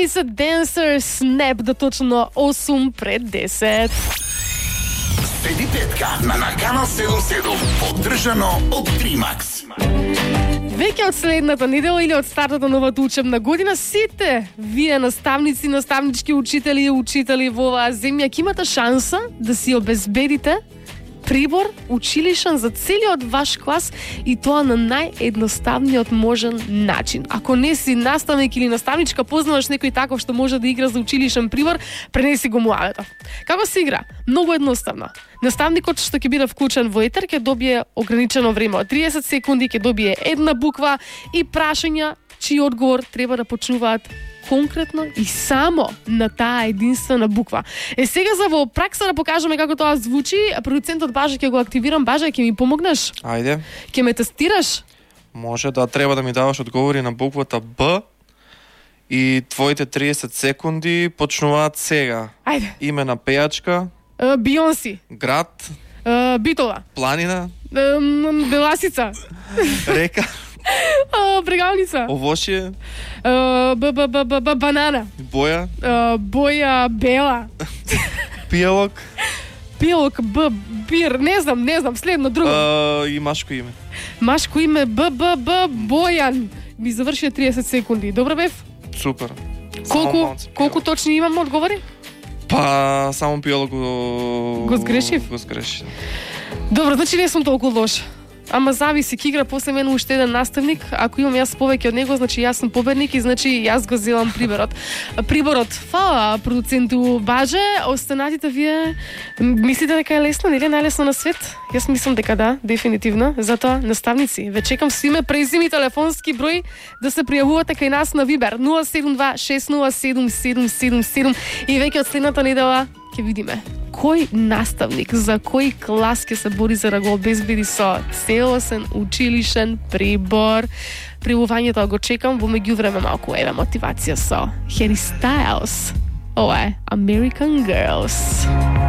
She's a Dancer, Snap, да точно 8 пред 10. Следи петка на Канал 77, поддржано од Тримакс. Веќе од следната недела или од стартот на новата учебна година, сите вие наставници, наставнички учители и учители во оваа земја ќе имате шанса да си обезбедите прибор училишен за целиот ваш клас и тоа на наједноставниот можен начин. Ако не си наставник или наставничка, познаваш некој таков што може да игра за училишен прибор, пренеси го муавето. Како се игра? Многу едноставно. Наставникот што ќе биде вклучен во етер ќе добие ограничено време од 30 секунди, ќе добие една буква и прашања чиј одговор треба да почнуваат конкретно и само на таа единствена буква. Сега за во пракса да покажеме како тоа звучи, продуцентот Баже ќе го активирам. Баже, ќе ми помогнеш? Ајде. Ќе ме тестираш? Може да треба да ми даваш одговори на буквата Б и твоите 30 секунди почнуваат сега. Ајде. Име на пејачка, Бионси, град, Битола, планина, Беласица, река, Брегалница, овошје, банана, боја, боја бела, пијалок, пилок, бир, не знам, следно друго. и машко име. Машко име Бојан. Ми завршија 30 секунди. Добро бев? Супер. Колку точни имам одговори? Па, само пијалок Го сгрешив? Го сгрешив. Добро, значи не сум толку лош. Ама зависи, ќе игра после мене уште еден наставник. Ако имам јас повеќе од него, значи јас сум победник и значи јас го земам приборот. Фала продуценту Баже. Останатите вие мислите дека е лесно, нели е најлесно на свет? Јас мислам дека да, дефинитивно. Затоа наставници, ве чекам со име, презиме и телефонски број да се пријавувате кај нас на Вибер 072-607-777 и веќе од следната недела ќе видиме кој наставник за кој клас ќе се бори за да го обезбеди со целосен училишен прибор. Пријавувањето го чекам, во меѓувреме малку еве мотивација со Harry Styles. Ова е American Girls.